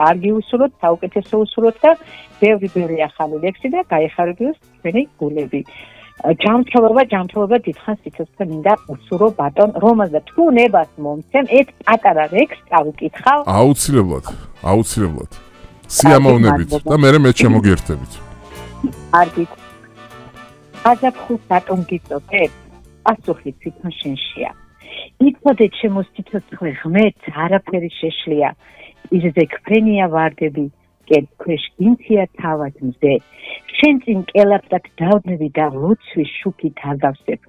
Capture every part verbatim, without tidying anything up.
კარგი უსურვოთ, საუკეთესო უსურვოთ და ბევრი ბევრი ახალი ლექსი და გაიხარებიოს თქვენი გულები. ჯანმრთელობა, ჯანმრთელობა დიდხანს სიცოცხლე მინდა უსურო ბატონ რომანს და თუ ნებას მომცემ, ეს პატარა ლექსს წავიკითხავ. აუცილებლად, აუცილებლად. სიამოვნებით და მე მე შემოგერთებით. კარგით. აზაფხულს რატომ გიწოდებ? პასუხი თვითონ შენშია. იცოდე ჩემო სიცოცხლე ღმერთს არაფერი შეშლია. იზრდე ქფენია ვარდები, კეთქვეშ გინცია თავად მზე. შენ წინ კელაპდად დავდნები და ლოცვის შუქით აგავსებ.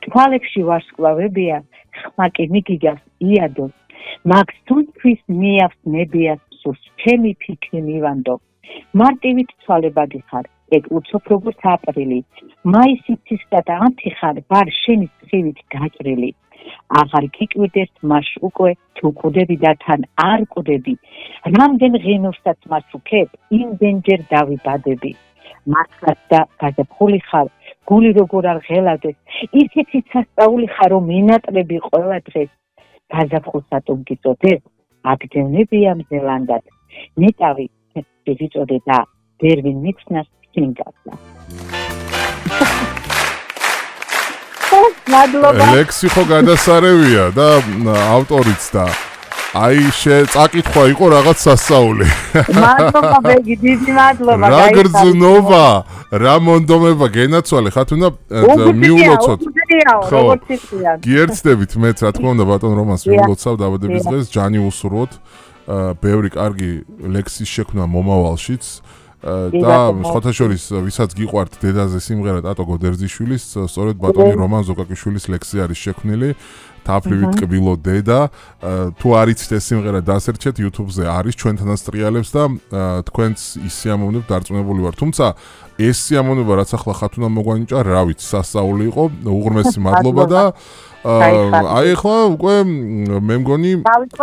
თვალებში ვარსკვლავებია, ხმა კი მიგიგავს იადოს. მაგს თუნთვის მიავს ნებიას სურს, ჩემი ფიქრი მივანდო. მარტივით ცვალებადი ხარ, ეგ უცობ როგორც აპრილი. მაისით ცისკა და ანთიხარ, ვარ შენი სხივით გაჭრილი. აღარ გიკვირდეს მას უკვე თუ კვდები და თან არ კვდები. რამდენ ღენოსსაც მას უქებ, იმდენჯერ დავიბადები. მართლაც და გაზაფხული ხარ, გული როგორ არ ღელავდეს, ისეთი სასწაული ხარ, რომ მინატრები ყველა დღეს. გაზაფხულს რატომ გიწოდებ? აგდევნებია მზელანდად. ნეტავი გიწოდე და ვერ ვინ მიცნას სინგასა. ლექსი ხო გადასარევია და ავტორიც და აი წაკითხვა იყო რაღაც სასწაული. მადლობა ბეგი, დიდი მადლობა. რა გრძნობა, რა მონდომება გენაცვალე, ხათუნა მიულოცოთ. ხო, გიერთდებით მეც რა თქმა უნდა ბატონ რომანს მიულოცავ დაბადების დღეს, ჯანი უსურვოთ, ბევრი კარგი ლექსის შექმნა მომავალშიც. და სხვათა შორის ვისაც გიყვართ დედაზე სიმღერა ტატო გოდერძიშვილის, სწორედ ბატონი რომან ზოკაკიშვილის ლექსი არის შექმნილი. თაფლივით კბილო დედა, თუ არ იცით ეს სიმღერა დასერჩეთ YouTube-ზე არის ჩვენთანაც ტრიალებს და თქვენც ის სიამოვნებთ დარწმუნებული ვარ. თუმცა ეს სიამოვნება რაც ახლა ხათუნა მოგვანიჭა, რა ვიცი, სასწაული იყო, უღრმესი მადლობა და აი ახლა უკვე მე მგონი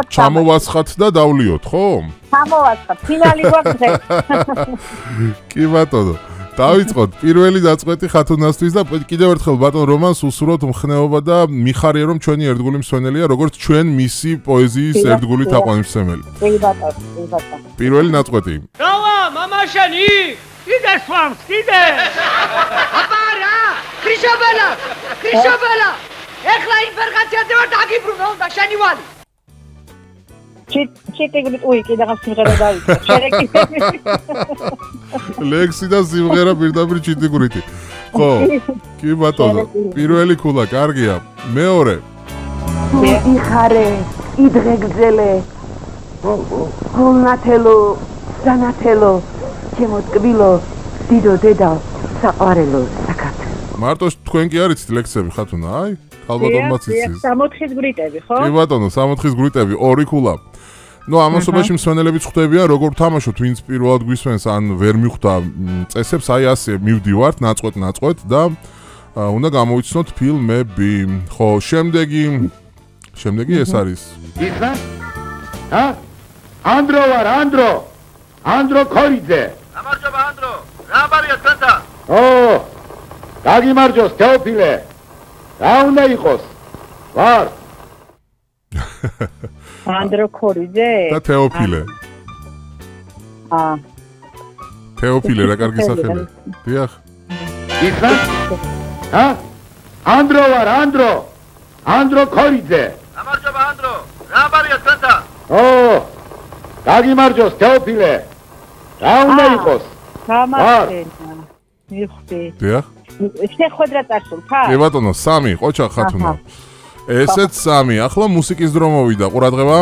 ჩამოვასხათ და დავლიოთ, ხო? ჩამოვასხათ, ფინალი გვაქვს დღეს. კი ბატონო. დავიწყოთ პირველი დაწყვეტი ხათუნასთვის და კიდევ ერთხელ ბატონ რომანს უსურვოთ მხნეობა და მიხარია რომ ჩვენი ერთგული მსვენელია როგორც ჩვენ მისი პოეზიის ერთგული თაყვანისმცემელი. კი ბატონო, კი ბატონო. პირველი ნაწყვეტი. რავა მამაშენი? კიდე სვამს, კიდე. აპარა! ქრიშაბელა! ქრიშაბელა! ეხლა ინფერგაციაზე ვარ დაგიბრუნო და შენი ვალი. ჩიტიგრით უი კიდე რაღაც სიმღერა დავიწყე. შერეკი. ლექსი და სიმღერა პირდაპირ ჩიტიგრითი. ხო. კი ბატონო. პირველი ქულა კარგია. მეორე. იხარე, იდღე გძელე. ხოლნათელო, სანათელო, ჩემო ტკბილო, დიდო დედა, საყვარელო, საქართველო. მარტო თქვენ კი არიცით ლექსები ხათუნა, აი? ალბათომაც იცის. სამოთხის გრიტები, ხო? კი ბატონო, სამოთხის გრიტები, ორი ქულა. ნუ ამასობაში მსვენელებიც ხვდებიან, როგორ თამაშოთ, ვინც პირველად გვისვენს, ან ვერ მიხვდა წესებს, აი ასე მივდივართ, ნაწყვეტ ნაწყვეტ და უნდა გამოვიცნოთ ფილმები. ხო, შემდეგი შემდეგი ეს არის. იხლა? ჰა? ანდრო ვარ, ანდრო. ანდრო ქორიძე. გამარჯობა ანდრო. რა ბარია თქვენთან? ო! გაგიმარჯოს თეოფილე. რა უნდა იყოს? ვარ. ანდრო ქორიძე? და თეოფილე. აა. თეოფილე რა კარგი სახელი. დიახ. იხლა? ჰა? ანდრო ვარ, ანდრო. ანდრო ქორიძე. გამარჯობა ანდრო. რა ბარია თქვენთან? ო! გაგიმარჯოს თეოფილე. რა უნდა იყოს? გამარჯვება. მიხვდი. დიახ. შეხვედრა წარსულთა? კი ბატონო, სამი ყოჩა ხათუნა. ესეც სამი. ახლა მუსიკის დრო მოვიდა, ყურადღება.